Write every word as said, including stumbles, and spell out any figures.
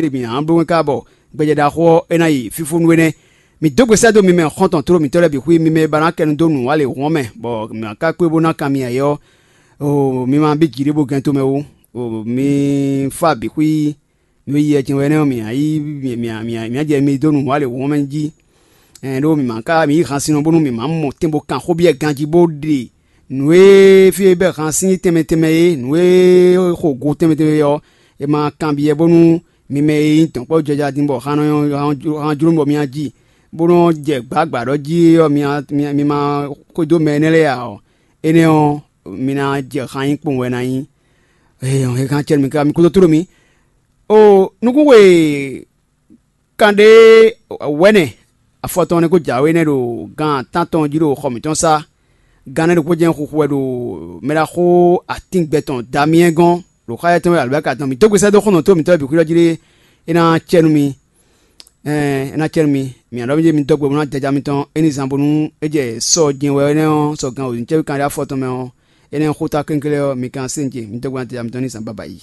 ɖe mǐ ná bló wɛn ká bɔ gbɛjɛ ɖaxó ɔ́ é ná yi fífúnú é nɛ́. Mǐ dó gbe sɛ́ dó mi mɛ xɔ́ntɔn tló mǐtɔn lɛ́ɛ bǐ xwí, mi mɛ e ba ná kɛ nu dó nǔ wa lě hɔn mɛ, bɔ mǐ ná ká kpé bó ná kan mi ayɛ ɔ́, o mi ma bí jǐ ɖé bó gɛn tomɛ ó. O mi fá bǐ xwí, nǔ e yi wɛ jɛ́n wɛ nɛ́ ɔ́, mǐ ná yí mǐ ná jɛ mi dó nǔ wa lě hɔn mɛ jí. Ɛn ɖó mǐ ma ka mǐ yi han sin ɔ́ bónú mǐ ma mɔ tɛn bó kan xó byɔ́ ganjí bó ɖe nǔ e fí e bɛ́ han sín tɛnmɛ tɛnmɛ é, nǔ e xo go tɛnmɛ tɛnmɛ é ɔ́, è ma kanbyɔ́ bónú mi mɛ e nyí dɔ̌nkpɔ́jɔja din bɔ han nɔ han jló bɔ mi ná ji, bó nɔ́ jɛ gbǎgbǎ ɖɔ jí ɔ́, mi ma xwedó mɛ énɛ́ lɛ́ɛ ǎ ɔ́, énɛ́ ɔ́, mi ná jɛ han nyí kpowun wɛ ná nyí. Ee, hɛn kan cɛ nú mi káká, mi kúdó tló mi. O nukúnxwe kanɖé wɛ̌nɛ afɔtɔn nɛ́ kó jǎwe nɛ́ ɖo gan tántɔn jí ɖo xɔ mǐtɔn sá. Gan nɛ́ ɖokpó jɛ́n xuxu wɛ ɖo mɛɖaxó atíngbɛ tɔn Damiyɛ́n gɔ́n ɖo xá yɛ́ tɔn wɛ alɔ̌bɛ́ka tɔn. Mǐ dó gbe sɛ́ dó xɔ́ntɔn tó mǐtɔn bǐ xwíɖɔ jí ɖé, é ná cɛ nú mi. Ɛn é ná cɛ nú mi. Mǐ ná ɖɔ mì jɛ mi dɔ́ gbe bó ná jaja mitɔn é ní zán bónú é jɛ sɔ jɛn wɛ énɛ́ ɔ́, sɔ gan wǒ ní cɛ́ kanɖé afɔtɔn mɛ ɔ́, énɛ́ xó ta kɛnklɛ́n ɔ́, mi kan sɛ́n ce mi dɔ́ gbe ná jaja mitɔn ní zán babayi.